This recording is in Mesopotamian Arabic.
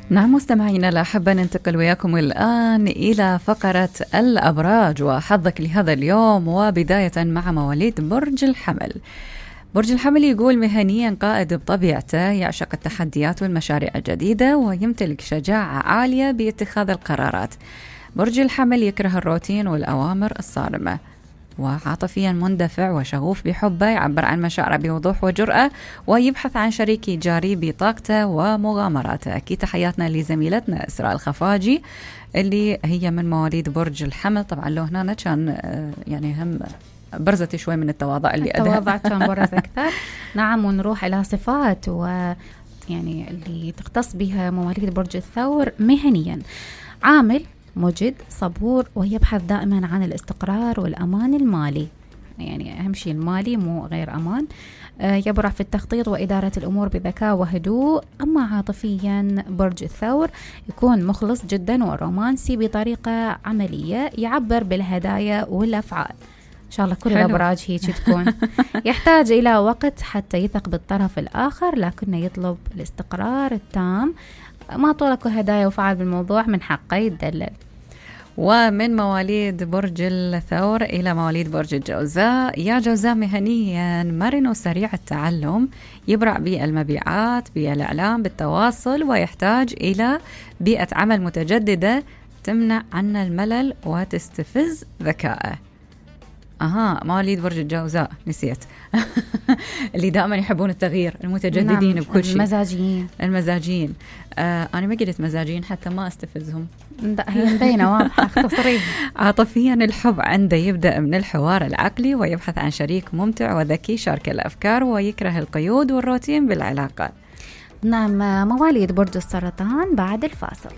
نعم مستمعينا الأحبة، ننتقل وياكم الآن إلى فقرة الأبراج وحظك لهذا اليوم، وبداية مع مواليد برج الحمل. برج الحمل يقول مهنيا قائد بطبيعته، يعشق التحديات والمشاريع الجديدة ويمتلك شجاعة عالية باتخاذ القرارات. برج الحمل يكره الروتين والأوامر الصارمة، وعاطفيا مندفع وشغوف بحبه، يعبر عن مشاعره بوضوح وجرأة، ويبحث عن شريك جاري بطاقته ومغامراته. أكيد تحياتنا لزميلتنا إسراء الخفاجي اللي هي من مواليد برج الحمل. طبعا لو هنا كان يعني هم برزت شوي من التواضع اللي التواضع كان برز أكثر. نعم، ونروح إلى صفات ويعني اللي تختص بها مواليد برج الثور مهنيا. عامل مجد صبور، ويبحث دائما عن الاستقرار والأمان المالي، يعني أهم شيء المالي مو غير أمان. يبرع في التخطيط وإدارة الأمور بذكاء وهدوء. أما عاطفيا برج الثور يكون مخلص جدا ورومانسي بطريقة عملية، يعبر بالهدايا والأفعال. إن شاء الله كل الأبراج هيك تكون. يحتاج إلى وقت حتى يثق بالطرف الآخر، لكنه يطلب الاستقرار التام. ما طولك هدايا وفعل بالموضوع، من حقه يتدلل. ومن مواليد برج الثور إلى مواليد برج الجوزاء. يا جوزاء مهنيا مرن وسريع التعلم، يبرع بالمبيعات بالإعلام بالتواصل، ويحتاج إلى بيئة عمل متجددة تمنع عنه الملل وتستفز ذكائه. مواليد برج الجوزاء نسيت. اللي دائما يحبون التغيير، المتجددين. نعم، بكل شيء، المزاجيين. أنا ما قلت مزاجين حتى ما استفزهم. هي مبينة واضحة، اختصريها. عاطفيا الحب عنده يبدأ من الحوار العقلي، ويبحث عن شريك ممتع وذكي شارك الأفكار، ويكره القيود والروتين بالعلاقة. نعم، مواليد برج السرطان بعد الفاصل.